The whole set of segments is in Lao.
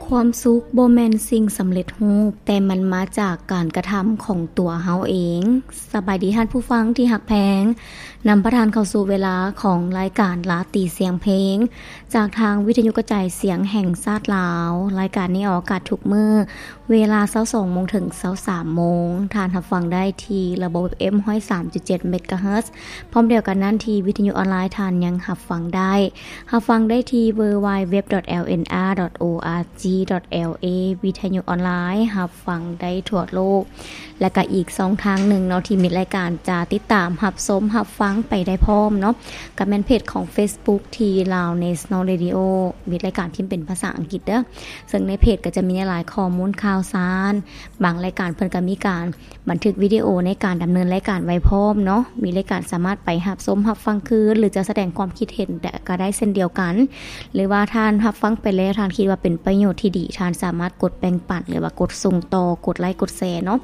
ຄວາມສຸກບໍ່ແມ່ນສິ່ງສຳເລັດຮູບ, ແຕ່ມັນມາຈາກການກະທຳຂອງຕົວເຮົາເອງ. ສະບາຍດີທ່ານຜູ້ຟັງທີ່ຮັກແພງ, ນຳພາທ່ານເຂົ້າສູ່ເວລາຂອງລາຍການລາຕີສຽງເພງ ຈາກທາງວິທະຍຸກະຈາຍສຽງແຫ່ງຊາດລາວ. ລາຍການນີ້ອອກອາກາດທຸກມື້ ເວລາຊາວສອງໂມງເຖິງຊາວສາມໂມງ. ທ່ານຮັບຟັງໄດ້ທີ່ລະບົບ ເອັຟເອັມ ຮ້ອຍສາມຈຸດເຈັດ ເມກາເຮີດ. ພ້ອມດຽວກັນນັ້ນ ທີ່ວິທະຍຸອອນລາຍທ່ານຍັງຮັບຟັງໄດ້. ຮັບຟັງໄດ້ທີ່ www.lnsr.org.la ວິທະຍຸອອນລາຍ ຮັບຟັງໄດ້ທົ່ວໂລກ. ແລະກະອີກຊ່ອງທາງໜຶ່ງເນາະ ທີ່ມິດລາຍການຈະຕິດຕາມຮັບຊົມຮັບຟັງໄປໄດ້ພ້ອມເນາະ ກະແມ່ນເພຈຂອງ Facebook ທີ່ Lao National Radio ມິດລາຍການພິມເປັນພາສາອັງກິດເດີ້. ເຊິ່ງໃນເພຈກໍຈະມີຫຼາຍໆຂໍ້ມູນຂ່າວສານ, ບາງລາຍການເພິ່ນກໍມີການບັນທຶກວິດີໂອໃນການດຳເນີນລາຍການໄວ້ພ້ອມເນາະ. ມີລາຍການສາມາດໄປຮັບຊົມຮັບຟັງຄືນ ຫຼືຈະສະແດງຄວາມຄິດເຫັນກໍໄດ້ເຊັ່ນດຽວກັນ. ຫຼືວ່າທ່ານຮັບຟັງໄປແລ້ວ ທ່ານຄິດວ່າເປັນປະໂຫຍດທີ່ດີ, ທ່ານສາມາດກົດແບ່ງປັນ ຫຼືວ່າກົດສົ່ງຕໍ່, ກົດໄລກ໌ ກົດແຊເນາະ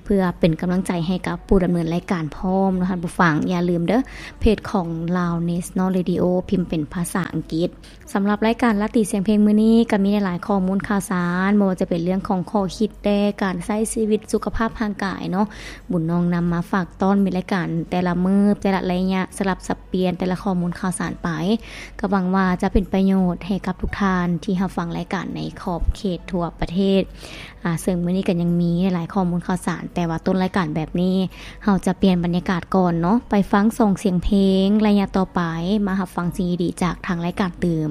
ເພື່ອເປັນກຳລັງໃຈໃຫ້ກັບຜູ້ດຳເນີນລາຍການພ້ອມເນາະທ່ານຜູ້ຟັງ. ຢ່າລືມເດີ້ ເພຈຂອງ Lao National Radio ພິມເປັນພາສາອັງກິດ. ສຳລັບລາຍການລາຕີສຽງເພງມື້ນີ້ ກໍມີຫຼາຍໆຂໍ້ມູນຂ່າວສານ, ບໍ່ວ່າຈະເປັນເລື່ອງຂອງຂໍ້ຄິດແດ່ ການໃຊ້ຊີວິດ, ສຸຂະພາບຮ່າງກາຍເນາະ. ບຸນນ້ອງນຳມາຝາກຕ້ອນມິດລາຍການແຕ່ລະມື້, ແຕ່ລະໄລຍະ, ສະຫຼັບສັບປ່ຽນແຕ່ລະຂໍ້ມູນຂ່າວສານໄປ. ກໍຫວັງວ່າຈະເປັນປະໂຫຍດໃຫ້ກັບທຸກທ່ານທີ່ຮັບຟັງລາຍການໃນຂອບເຂດທົ່ວປະເທດ. ອາ ເຊິ່ງມື້ນີ້ກໍຍັງມີຫຼາຍໆຂໍ້ມູນຂ່າວສານ, ແຕ່ວ່າຕົ້ນລາຍການແບບນີ້ ເຮົາຈະປ່ຽນບັນຍາກາດກ່ອນເນາະ, ໄປຟັງສອງສຽງເພງ. ໄລຍະຕໍ່ໄປ ມາຮັບຟັງສິ່ງດີໆຈາກທາງລາຍການຕື່ມ.